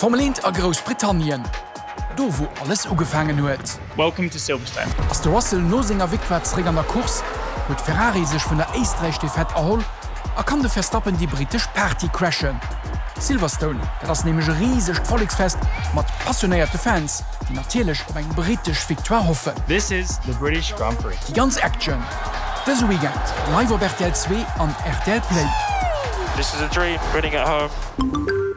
D'Formel 1 a Groussbritannien, do wou alles ugefaangen huet. Welcome to Silverstone. Ass de Russell no senger Victoire zeréck an der Course, huet Ferrari sech vun der Éisträich-Defaite erholl a kann de Verstappen déi brittesch Party crashen. Silverstone, dat ass nämlech e risegt Volleksfest mat passionéierte Fans, déi natierlech op eng brittesch Victoire hoffen. This is the British Grand Prix. Déi ganz Action dëse Weekend live op rtl 2 an rtl Play. This is a dream, winning at home.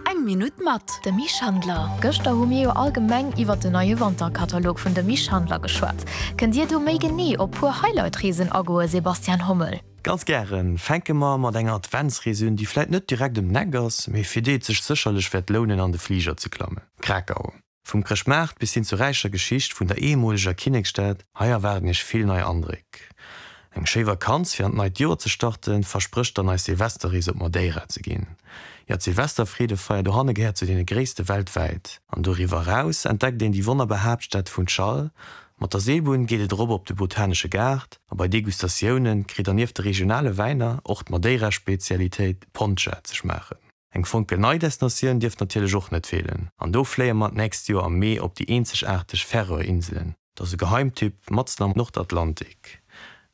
Eng Minutt mat. Demy Schandler. Gëschter hu mir jo allgemeng iwwert den neie Wanterkatalog vun Demy Schandler geschwat. Kënnt Dir do méi genee op puer Highlight-Reesen agoe Sebastian Hommel? Ganz gären. Fänke mer mat enger Adventsrees un, déi vläit net direkt ëm d'Eck ass, mee fir déi et sech sécherlech wäert lounen an de Fliger ze klammen, Krakau. Vum Chrëschtmaart bis hin zur räicher Geschicht vun der ehemooleger Kinneksstad, hei erwaarden iech vill nei Andréck. Eng schéi Vakanz fir an d'neit Joer ze starten, versprécht dann eis Silvesterrees op Madeira ze ginn. Jo, d'Silvesterfreedefeier dohanne gehéiert zu deene gréisste weltwäit. An doriwwer eraus entdeckt een déi wonnerbar Haaptstad Funchal. Mat der Seelbunn geet et erop op de botanesche Gaart a bei Degustatioune kritt der nieft de regionale Wäiner och d'Madeira-Spezialitéit Poncha ze schmaachen. Eng fonkelnei Destinatioun dierf natierlech och net feelen an do fléie mer d'nächst Joer am Mee op déi eenzegaarteg Färöer-Inselen. Dat ass e Geheimtipp matzen am Nordatlantik.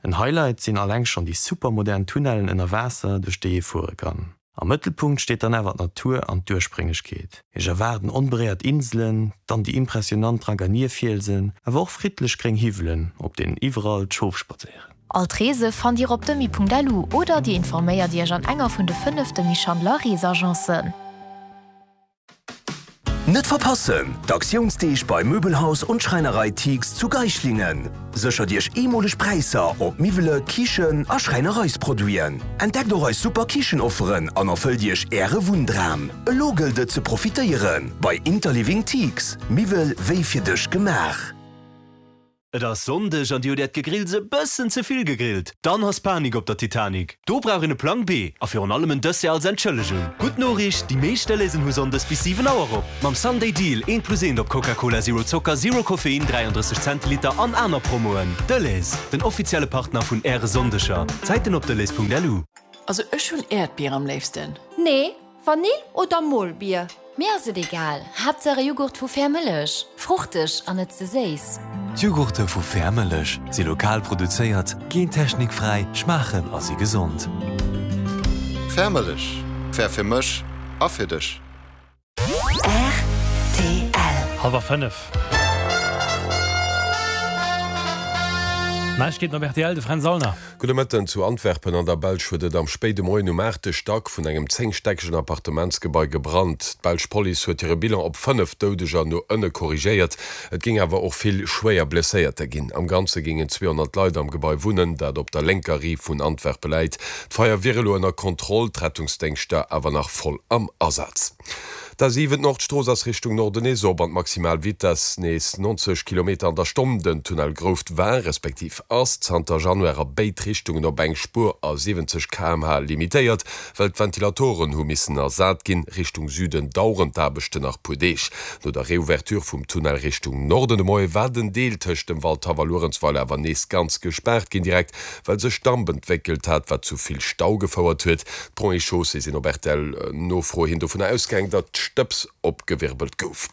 En Highlight sinn alleng schonn déi supermodern Tunnellen ënner Waasser, duerch déi ee fuere kann. Am Mëttelpunkt steet dann awer d'Natur an d'Ursprénglechkeet. Iech erwaarden onberéiert Inselen, dann déi impressionant Draganierfielsen, awer och friddlech gréng Hiwwelen, op deenen iwwerall d'Schof spadséieren. All d'Reese fannt Dir op demi.lu oder Dir informéiert Iech an enger vun de 5 Demy Schandler Reesagencen. Net verpassen! D'Aktiounsdeeg bei Möbelhaus und Schreinerei Thiegs zu Geislingen. Séchert Iech eemoleg Präisser op Miwwele, Kichen a Schräinereisproduiten. Entdeckt och eis super Kichenofferen an erfëllt Iech Äre Wunndram. Elo gëllt et ze profitéieren bei Interliving Thiegs, Miwwel wéi fir dech gemaach. Et ass Sonndeg an dir hutt äert Gegrills e bëssen ze vill gegrillt? Dann ass Panik op der Titanic. Do brauch een e Plang B a virun allem en Dessert als Entschëllegung. Gutt Noriicht, déi meescht Delaisen hu Sonndes bis 7 Auer op. Mam Sunday Deal, eent plus eent op Coca-Cola Zero Zocker, Zero Koffein, 33 Zentiliter an aner Promoen. Delhaize, den offizielle Partner vun äre Sonndeger. Zäiten op delhaize.lu. Also ech hunn Äerdbier am léifsten. Nee, Vanill oder Molbier? Mir ass et egal, Haaptsaach e Jughurt vu Fair Mëllech, fruchteg an net ze séiss. D'Jughurte vu Fair Mëllech si lokal produzéiert, gentechnikfräi, schmaachen a si gesond. Fair Mëllech, fair fir mech a fir dech. Rtl. Hallwer 5. Neiegkeeten op rtl, de Fränz Aulner. Gudde Mëtten. Zu Antwerpen an der Belsch huet et am spéide Moien um aachte Stack vun engem zéngstäckegen Appartementsgebai gebrannt. D'belsch Police huet hire Bilan op 5 Doudeger no ënne korrigéiert. Et géing awer och vill schwéier Blesséierter ginn. Am Ganze géingen 200 Leit am Gebai wunnen, dat op der lénker Riif vun Antwerpe läit. D'Feier wier elo ënner Kontroll, d'Rettungsdéngschter awer nach voll am Asaz. D'A7, d'Nordstrooss ass Richtung Norden nees op an d'maximal Vitess nees 90 Kilometer an der Stonn. Den Tunnel Grouft war, respektiv ass, zanter Januar a béid Richtungen op eng Spuer a 70 km/h limitéiert, well d'Ventilatoren hu missen ersat ginn. Richtung Süden daueren d'Aarbechten nach puer Deeg. No der Reouverture vum Tunnel Richtung Norden de Moie war den Deel tëscht dem Waldhaff a Luerenzweiler awer nees ganz gespaart ginn, direkt well sech Damp entwéckelt hat, wat zu vill Stau gefouert huet. D'Ponts et Chaussées sinn op RTL-Nofro hin dovunner ausgaang, datt Stëbs opgewirbelt gouf.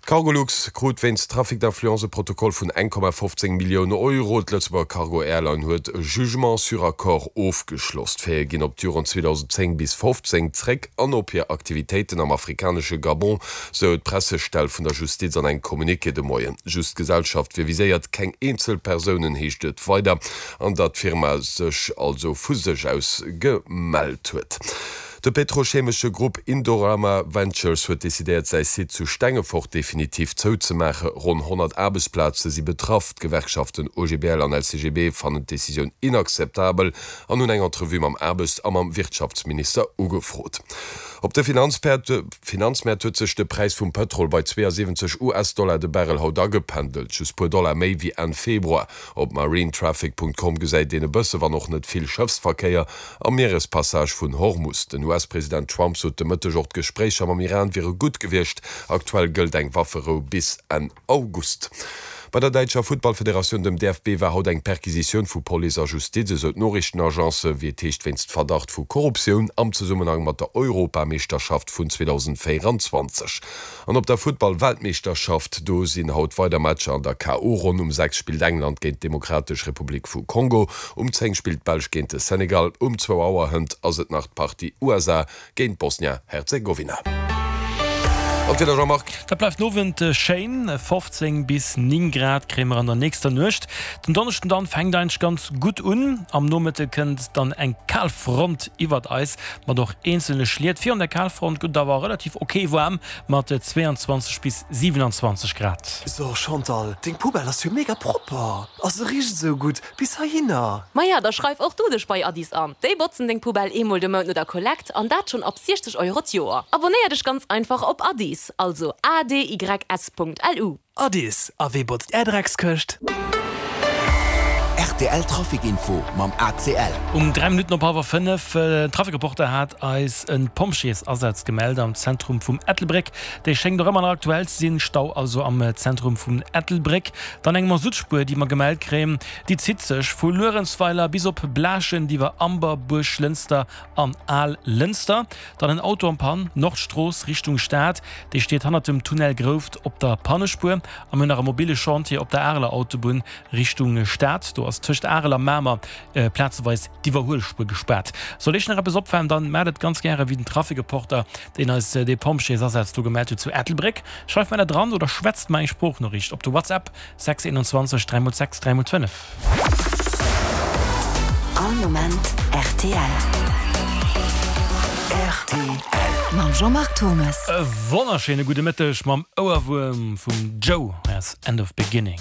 D'Cargolux krut wéinst Trafic d'influence e Protokoll vun 1,15 Millioune Euro. D'Lëtzebuerger Cargo Airline huet e Jugement sur accord ofgeschloss. D'Faite ginn op d'Joren 2010 bis 15 zréck an op hir Aktivitéiten am afrikanesche Gabon, sou d'Pressestell vun der Justiz an engem Communiqué de Moien. Just d'Gesellschaft wier viséiert, keng eenzel Persounen, heescht et weider, an datt d'Firma sech also vu sech aus gemellt huet. De petrochemesche Grupp Indorama Ventures huet decidéiert, säi Site zu Stengefort definitiv zouzemaache. Ronn 100 Aarbechtsplaze si betraff. D'Gewerkschaften OGBL an LCGB fannen d'Decisioun inakzeptabel an hunn eng Entrevue mam Aarbechts a mam Wirtschaftsminister ugefrot. Op de Finanzmäert huet sech de Präis vum Pëtrol bei 72 US-Dollar de Barrel haut agependelt, just puer Dollar méi wéi Enn Februar. Op marinetraffic.com gesäit een e bësse, wann och net vill, Schëffsverkéier am Mierespassage vun Hormus. Den US-President Trump sot de Mëtteg och, d'Gespréicher mam Iran wiere gutt gewiescht. Aktuell gëllt eng Wafferou bis Enn August. Bei der däitscher Futtballfederatioun, dem DFB, war haut eng Perquisitioun vu Police a Justiz, esou d'Noriichtenagence, wéi et heescht wéinst Verdacht vu Korruptioun am Zesummenhang mat der Europameeschterschaft vun 2024. An op der Futtball-Weltmeeschterschaft, do sinn haut weider Matcher an der KO-Ronn. Um 6 spillt England géint d'Demokratesch Republik vu Kongo, um 10 spillt d'Belsch géint de Senegal, um zwou Auer hënt ass et nach d'Partie USA géint Bosnia-Herzegowina. An d'Wieder, Jean-Marc? Dat bleift den Owend schéin, 15 bis 9 Grad kréie mer an der nächster Nuecht. Den Donneschden dann fänkt eigentlech ganz gutt un, am Nomëtte kënnt dann eng Kalfront iwwert eis mat och eenzelne Schliet. Virun der Kalfront gëtt et awer relativ ok waarm mat 22 bis 27 Grad. So Chantal, deng Poubelle ass jo mega propper a se richt esou gutt bis heihinner. Maja, da schreif och du dech bei Addis an. Déi botzen deng Poubelle eemol de Mount no der Kollekt an dat schonn ab 60 Euro d'Joer. Abonnéier dech ganz einfach op Addis, also adys.lu. Addis, a wee botzt är Dreckskëscht? Rtl Trafic Info mam ACL. Um 3 Minutten op hallwer 5, den Trafic-Reporter hat eis e Pompjeesasaz gemellt am Zentrum vum Ettelbréck. Dee schéngt och ëmmer nach aktuell ze sinn. Stau also am Zentrum vum Ettelbréck. Dann eng Masuttspuer, déi mer gemellt kréien, déi zitt sech vu Luerenzweiler bis op Blaaschent iwwer Amber, Buerglënster an Al-Lënster. Dann en Auto en Panne, Nordstrooss Richtung Stad, dee steet hannert dem Tunnel Grouft op der Pannespuer. A mir hunn nach e mobile Chantier op der Areler Autobunn Richtung Stad. Do ass tëscht Arel a Mamer plazeweis d'Iwwerhuelspuer gespaart. Sollt Iech nach eppes opfalen, dann maacht et ganz gäre wéi den Trafic-Reporter, deen eis dee Pompjeesasaz do gemellt huet zu Ettelbréck. Schreift mer dat dran oder schwätzt mer eng Sproochnoriicht op de WhatsApp 6 21 3 x 6 3 x 5. All Moment rtl. Rtl. Mam Jean-Marc Turmes. E wonnerschéine gudde Mëtteg mam Ouerwuerm vum Joe. Hei ass End of Beginning.